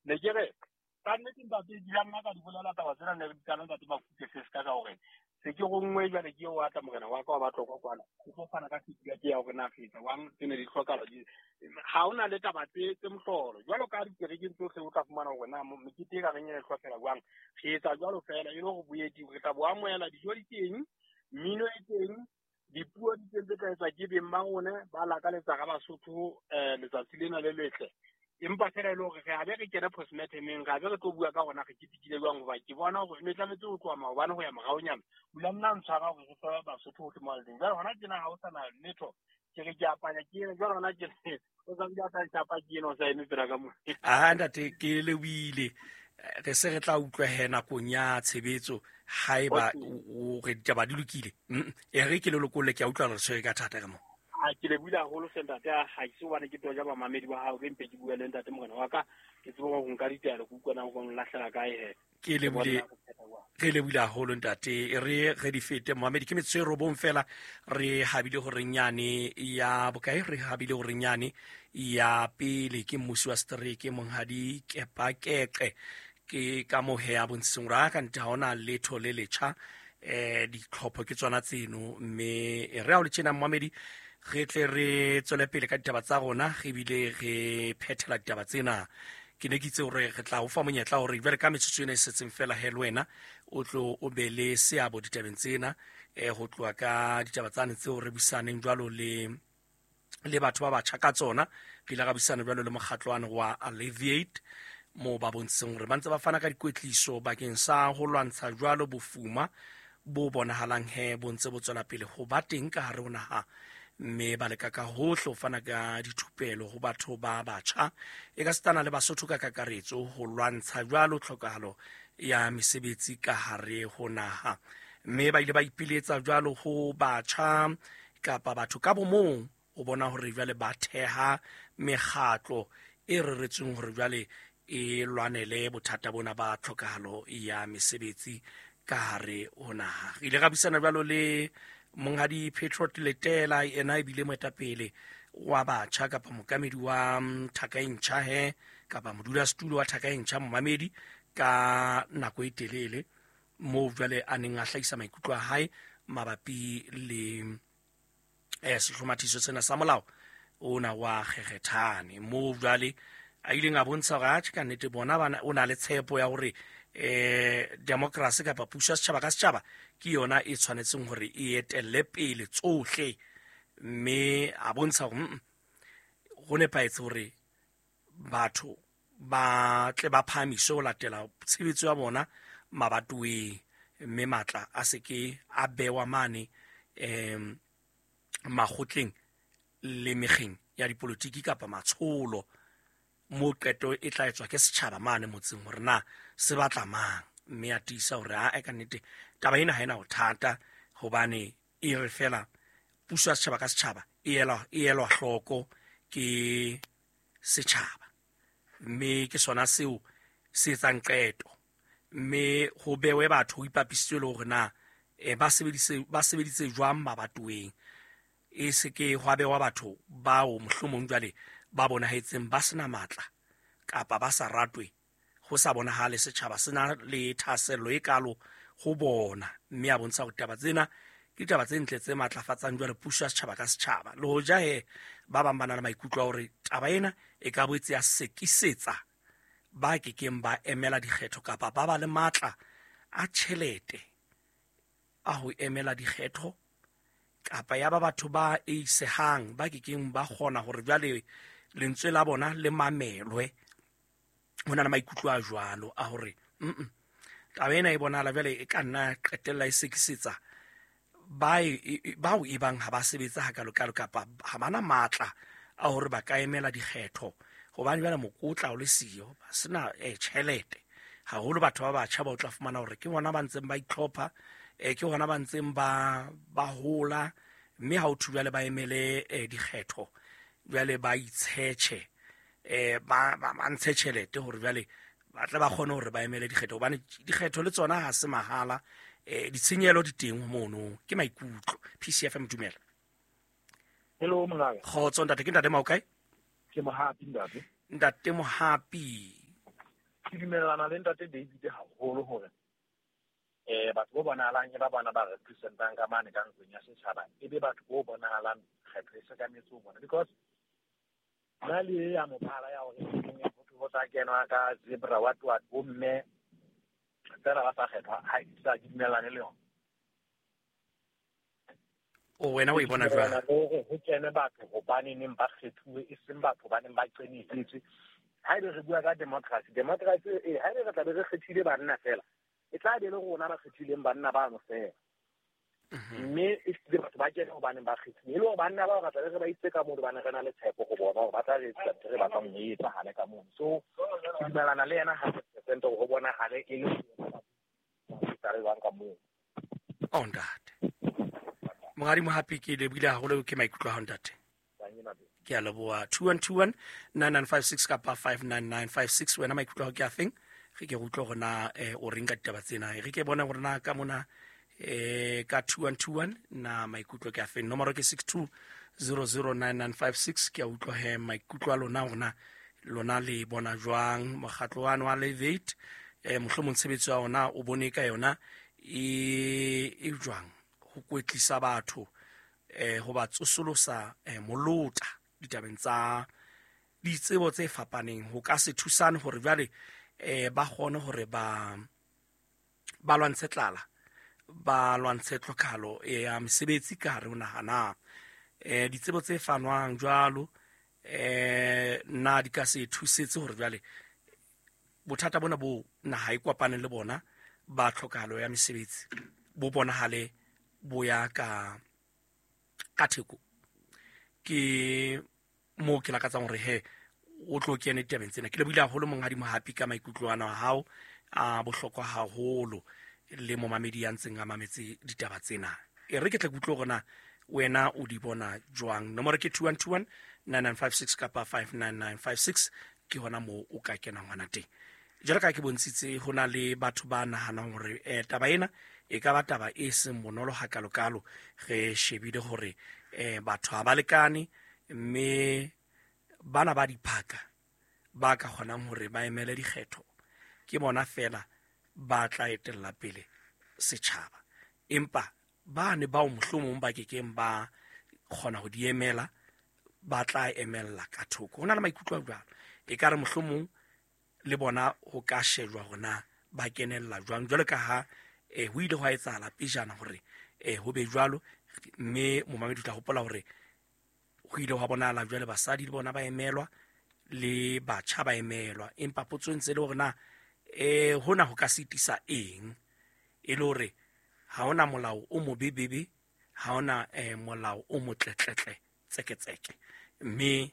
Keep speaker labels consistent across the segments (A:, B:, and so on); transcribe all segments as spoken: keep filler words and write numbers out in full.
A: Ne ke re ka nnete ntate di la nna ka di bolela taba tsena ne di kana ntate Makuke se se ka ka hore se ke rongwe jwale ke o atla morena wa ka wa batlo kwa kwana go tlo fana ka feedback ya hore na fetsa wang tsene di tlhokala di ha ona le taba tse tse mohlolo jwalo ka dikerekeng tsohle o tla fumana hore na mekete e ka reng e hlokela jwang re etsa jwalo fela e le hore boeti re tla bo amohela dijo di teng mmino e teng dipuo di teng tse tla etswa ke beng ba rona ba lakaletsa ka Basotho um letsatsi lena le letle empa fela e le hore re a be re kene postmortemeng re a be re tlo bua ka rona re ketekile jwang hoba ke bona hore ne tlametse ho tloha maobane ho ya moraonyana o la nna ntshwara hore re fe Basotho hohle mo leng jwale hona tjena ha ho sana letho ke re ke apanya ke ena jwale hona tjena o sa ntse a sa ntshapa ke ena o sa eme pela ka mo
B: aha ntate ke lebohile re se re tla utlwa he nakong ya tshebetso haeba o re ditaba di lokile e re ke le lokolle ke a utlwa re tshwere ka thata ka mo
A: a ke le buile haholo hle ntate ha ke se hobane ke toja bamamedi ba hao ke mpe ke bua le ntate morena wa ka ke tsebe hore nka ditaelo ke utlwa na hore nlahlela kae he
B: ke le buile re le buile haholo ntate re re di fete momamedi ke metsotso e robong fela re habile hore nyane ya bokae re habile hore nyane ya pele ke mmusi wa setereke monghadi Kepa Keqe ke ka mohe ya bontshitseng hore a ka nte ha hona letho le letjha eh ditlhopho ke tsona tseno mme re ha o le tjena momamedi re tle re tswele pele ka ditaba tsa rona re bile re phethela ditaba tsena ke ne ke itse hore re tla o fa monyetla hore jwale ka metsotso ena e setseng fela he le wena o tlo o be le seabo ditabeng tsena eh ho tloha ka ditaba tsane tseo re buisaneng jwalo le le batho ba batjha ka tsona re ile ra buisana jwalo le mokgatlwane wa Alleviate mo ba bontshitseng hore ba ntse ba fana ka dikwetliso bakeng sa ho lwantsha jwalo bofuma bo bonahalang he bo ntse bo tswela pele ho ba teng ka hare ho naha mme ba leka ka hohle ho fana ka dithupelo ho batho ba batjha e ka setana le Basotho ka kakaretso ho lwantsha jwalo tlhokahalo ya mesebetsi ka hare ho naha mme ba ile ba ipiletsa jwalo ho batjha kapa batho ka bomong o bona hore jwale ba theha mekgatlo e reretsweng hore jwale e lwanele bothata bona ba tlhokahalo ya mesebetsi ka hare ho naha. Re ile ra buisana jwalo le monghadi Patriot Letela ena ebile moetapele wa batjha kapa mokamedi wa Thaka e Ntjha he kapa modulasetulo wa Thaka e Ntjha momamedi ka nako e telele moo jwale a neng a hlahisa maikutlo a hae mabapi le eh sehlomathiso sena sa molao ona wa Kgekgethane moo jwale a ileng a bontsha hore atjhe ka nnete bona bana o na le tshepo ya hore eh democracy kapa puso ya setjhaba ka setjhaba ke yona e tshwanetseng hore e etelle pele tsohle mme a bontsha hore ho nepahetse hore batho ba tle ba phahamiswe ho latela tshebetso ya bona mabatoweng mme matla a se ke a bewa mane em makgotleng le mekgeng ya dipolotiki kapa matsholo mo qeto e tla etswa ke setjhaba mane motseng hore na se batla mang mme a tiisa hore a e ka nnete taba ena ha ena bothata hobane e re fela puso ya setjhaba ka setjhaba e elwa e elwa hloko ke setjhaba mme ke sona seo se etsang qeto mme ho bewe batho ho ipapisitswe le hore na e ba sebedise ba sebeditse jwang mabatoweng e se ke hwa bewa batho bao mohlomong jwale ba bonahetseng ba sena matla kapa ba sa ratwe ho sa bonahale setjhaba sena le thahasello e kalo ho bona mme a bontsha hore taba tsena ke ditaba tse ntle tse matlafatsang jwale puso ya setjhaba ka setjhaba le hoja he ba bang ba na le maikutlo a hore taba ena e ka boetse ya sekisetsa ba kekeng ba emela dikgetho kapa ba ba le matla a tjhelete a ho emela dikgetho kapa ya ba batho ba eisehang ba kekeng ba kgona hore jwale lentswe la bona le mamelwe ho na le maikutlo a jwalo a hore mm taba ena e bonahala jwale e ka nna qetella e sekisetsa ba bao e bang ha ba sebetsa hakalokalo kapa ha bana matla a hore ba ka emela dikgetho hobane jwale mokotla o le siyo ba sena eh tjhelete haholo batho ba batjha ba o tla fumana hore ke bona ba ntseng ba itlhopha eh ke hona ba ntseng ba ba hola mme ha o thu jwale ba emele eh, dikgetho jwale ba itshetjhe eh ba ba ntshe tjhelete hore jwale ba tle ba kgone hore ba emele dikgetho hobane dikgetho le tsona ha se mahala eh ditshenyehelo di teng mono ke maikutlo. P C F M dumela.
C: Hello mongaka.
B: Kgotso ntate, ke ntate Maokae?
C: Ke Mohapi ntate.
B: Ntate Mohapi.
C: Ke dumellana le ntate David haholo hore eh batho bo bonahalang e ba bona ba representang ka mane ka ntlong ya setjhaba e be batho bo bonahalang kgetho e sekametse ho bona, because nna le ya mophala ya hore ho tla kenwa ka zebra what what bo mme fela ba sa kgethwa, ha ke sa dumellane le yona.
B: O wena o e bona jwang?
C: Hore ho kene batho hobane neng ba kgethuwe, e seng batho ba neng ba qenehetswe. Haebe re bua ka democracy, democracy eh haebe re tla be re kgethile banna fela, e tla be le rona ba kgethileng banna bano fela. Mme e hlile batho ba kene hobane ba kgethile, e le hore banna bao re tla be re ba itse ka moo, hobane re na le tshepo ho bona hore ba tla re etsa ntho re batlang ho e etsahale ka mono. So ke dumellana le yena hundred percent hore ho bonahale e le tla re bang ka moo.
B: Oh ntate Monghadi Mohapi, ke lebohile haholo ke maikutlo a hao ntate. Ke a leboha. Two one two one nine nine five six kapa five nine nine five six. Wena maikutlo a hao ke a feng? Re ke utlwe hore na eh, o reng ka ditaba tsena. Re ke bona hore na ka mona eh, ka two one two one na maikutlo ke a feng. Nomoro ke six two zero zero nine nine five six. Ke a utlwa he maikutlo a lona hore na lona le bona jwang mokgatlo wa wa Elevate, eh, mohlomong tshebetso ya ona o bone ka yona e e jwang ho kwetlisa batho eh ho ba tsosolosa eh, molota ditabeng tsa ditsebo tse fapaneng, ho ka se thusane hore jwale eh ba kgone hore ba ba lwantshe tlala, ba lwantshe tlhokahalo ya mesebetsi ka hare ho naha na. Eh ditsebo tse fanwang jwalo eh na di ka se thusetse hore jwale bothata bona bo naha e kopaneng le bona ba tlhokahalo ya mesebetsi bo bonahale bo ya ka ka theko. Ke mo ke lakatsang hore he o tlo kene ditabeng tsena. Ke lebohile haholo Monghadi Mohapi ka maikutlo ana a hao a bohlokwa haholo le momamedi ya ntseng a mametse ditaba tsena. E re ke tle ke utlwe hore na wena o di bona jwang. Nomoro ke two one two one nine nine five six kapa five nine nine five six, ke hona moo o ka kenang hona teng. Jwalo ka ke bontshitse ho na le batho ba nahanang hore eh, taba ena e ka ba taba e seng bonolo hakalokalo. Re shebile hore eh, batho ha ba lekane, mme bana ba diphaka ba ka kgonang hore ba emele dikgetho ke bona fela ba tla etella pele setjhaba, empa ba ne bao mohlomong ba kekeng ba kgona ho di emela ba tla emella ka thoko. Ho na le maikutlo a jwalo, e ka re mohlomong le bona ho ka shejwa hore na ba kenella jwang, jwalo ka ha eh, ho ile hwa etsahala pejana hore eh, ho be jwalo. Mme momamedi o tla hopola hore ho ile hwa bonahala jwale basadi le bona ba emelwa le batjha ba emelwa, empa potso e ntse le hore na eh, hona ho ka sitisa eng, e le hore ha hona molao o mobebebe, ha hona eh, molao o motletletle tseketseke. Mme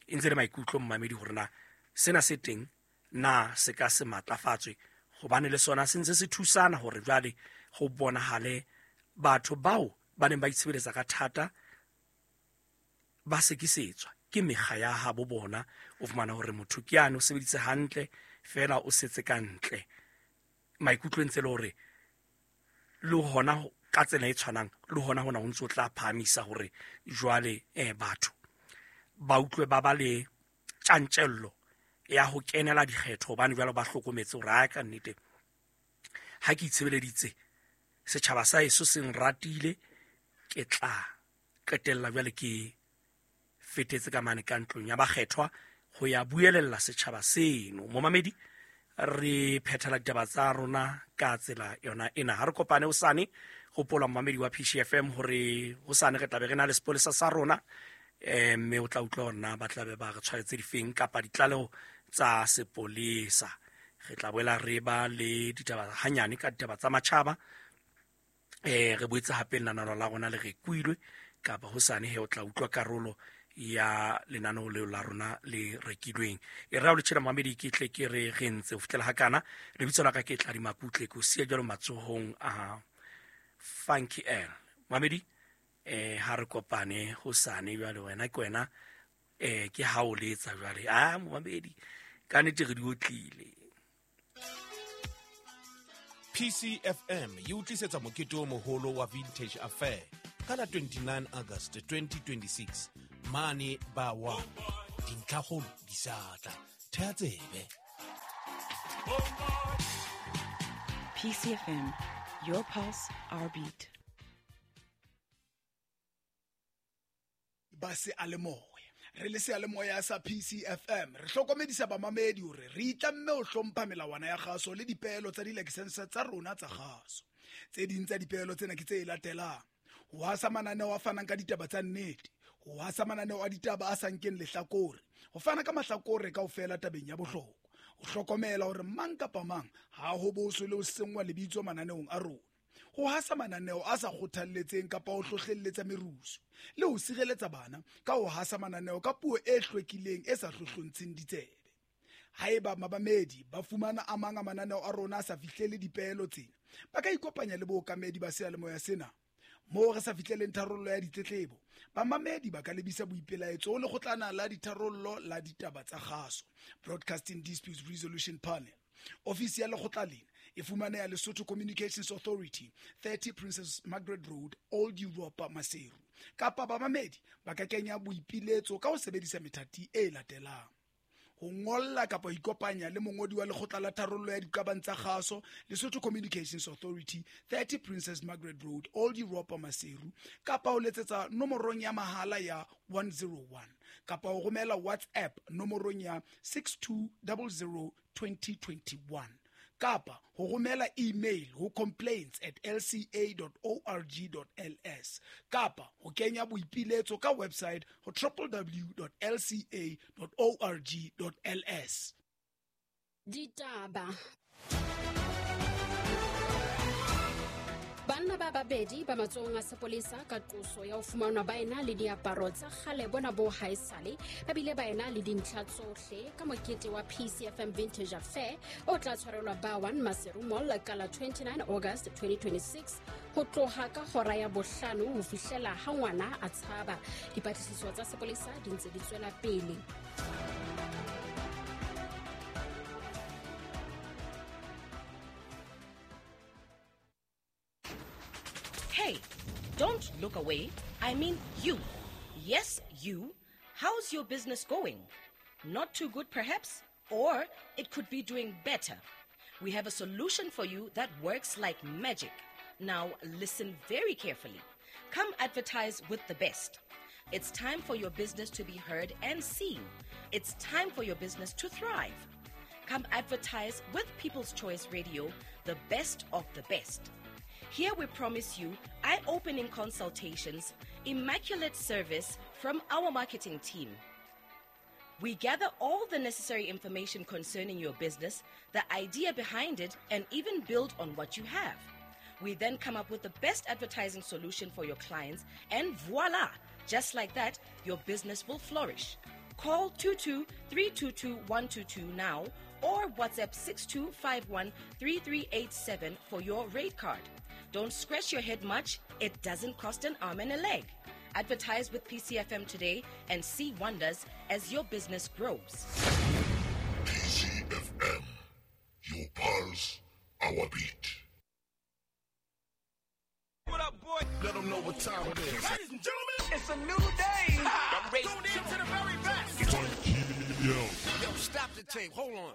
B: e ntse le maikutlo mmamedi hore na sena se teng na se ka se matlafatswe, hobane le sona se ntse se thusana hore jwale ho bonahale batho bao ba neng ba itshebeletsa ka thata ba sekisetswa ke mekga ya habo bona. O fumana hore motho ke yane o sebeditse hantle fela o setse ka ntle. Maikutlo ntse le hore le hona ka tsela e tshwanang le hona hona ho ntso tla phahamisa hore jwale eh batho ba utlwe ba ba le tjantjello ya ho kenela dikgetho, hobane jwale ba hlokometse hore ha ka nnete ha ke itshebeleditse setjhaba sa heso se nratile, ke tla qetella jwale ke fetetse ka mane ka ntlong ya bakgethwa ho ya buelella setjhaba seno. Momamedi, re phethela ditaba tsa rona ka tsela yona ena. Ha re kopane hosane. Hopola momamedi wa P C F M hore hosane re tla be re na le sepolesa sa rona, eh mme o tla utlwa hore na ba tla be ba re tshwaretse difeng kapa ditlaleho tsa sepolesa. Re tla boela re ba le ditaba hanyane ka ditaba tsa matjhaba. Eh re boetse hape lenaneo la rona le rekwilwe kapa hosane he o tla utlwa karolo ya lenaneo leo la rona le rekilweng. E re ha o le tjhela momamedi, ke tle ke re re ntse ho fihlela hakana. Lebitso la ka ke Tladi Makutle, ke o siya jwalo matsohong a Funky L. Momamedi, eh ha re kopane hosane jwale wena ke wena eh ke ha o letsa jwale. Ah momamedi, ka nnete re di otlile.
D: P C F M e o tlisetsa mokete o moholo wa Vintage Affair ka la twenty-nine August twenty twenty-six mane ba wa dintlhakgolo di sa tla. Thea tsebe.
E: P C F M, your pulse, our beat.
F: Ba se a le moya. Re le seyalemoya sa P C F M re hlokomedisa bamamedi hore re itlamme ho hlompha melawana ya kgaso le dipeelo tsa dilakesense tsa rona tsa kgaso. Tse ding tsa dipeelo tsena ke tse latelang: ho hasa mananeo a fanang ka ditaba tsa nnete, ho hasa mananeo a ditaba a sa nkeng lehlakore, ho fana ka mahlakore kaofela tabeng ya bohlokwa, ho hlokomela hore mang kapa mang ha ho boswe le ho senngwa lebitso mananeong a rona, ho hasa mananeo a sa kgothalletseng kapa ho hlohlelletsa merusu, le ho sireletsa bana ka ho hasa mananeo ka puo e hlwekileng e sa hlohlontsheng ditsebe. Haeba mabamedi ba fumana a mang a mananeo a rona a sa fihlele dipeelo tsena, ba ka ikopanya le bookamedi ba seyalemoya sena. Moo re sa fihleleng tharollo ya ditletlebo, bamamedi ba ka lebisa boipelaetso ho lekgotlana la ditharollo la ditaba tsa kgaso, Broadcasting Disputes Resolution Panel. Ofisi ya lekgotla lena e fumaneha Lesotho Communications Authority, thirty Princess Margaret Road, Old Europa, Maseru. Kapa bamamedi ba ka kenya boipiletso ka ho sebedisa methati e latelang: ho ngolla kapa ho ikopanya le mongodi wa lekgotla la tharollo ya diqabang tsa kgaso, Lesotho Communications Authority, thirty Princess Margaret Road, Old Europa, Maseru, kapa ho letsetsa nomorong ya mahala ya one zero one, kapa ho romela WhatsApp nomorong ya six two zero zero twenty twenty-one, kapa ho romela email ho complaints at l c a dot org dot l s, kapa ho kenya boipiletso ka website ho w w w dot l c a dot org dot l s.
G: Ditaba. Banna ba babedi ba matsohong a sepolesa ka qoso ya ho fumanwa ba ena le diaparo tsa kgale bona bo haesale, ba bile ba ena le dintlha tsohle ka mokete wa P C F M Vintage Affair o tla tshwarelwa ba one Maseru Mall ka la twenty-nine August twenty twenty-six ho tloha ka hora ya bohlano ho fihlela ha ngwana a tshaba. Dipatlisiso tsa sepolesa di ntse di tswela pele.
H: Hey, don't look away. I mean you. Yes, you. How's your business going? Not too good, perhaps? Or it could be doing better. We have a solution for you that works like magic. Now, listen very carefully. Come advertise with the best. It's time for your business to be heard and seen. It's time for your business to thrive. Come advertise with People's Choice Radio, the best of the best. Here we promise you eye-opening consultations, immaculate service from our marketing team. We gather all the necessary information concerning your business, the idea behind it, and even build on what you have. We then come up with the best advertising solution for your clients, and voila! Just like that, your business will flourish. Call two two three two two one two two now or WhatsApp six two five one three three eight seven for your rate card. Don't scratch your head much. It doesn't cost an arm and a leg. Advertise with P C F M today and see wonders as your business grows.
I: P C F M, your pulse, our beat.
D: What up, boy?
I: Let them know what time it is.
D: Ladies and gentlemen, it's a new day. Ha! I'm ready. Tune in to the very best.
I: Yo.
D: Yo, stop the tape. Hold on.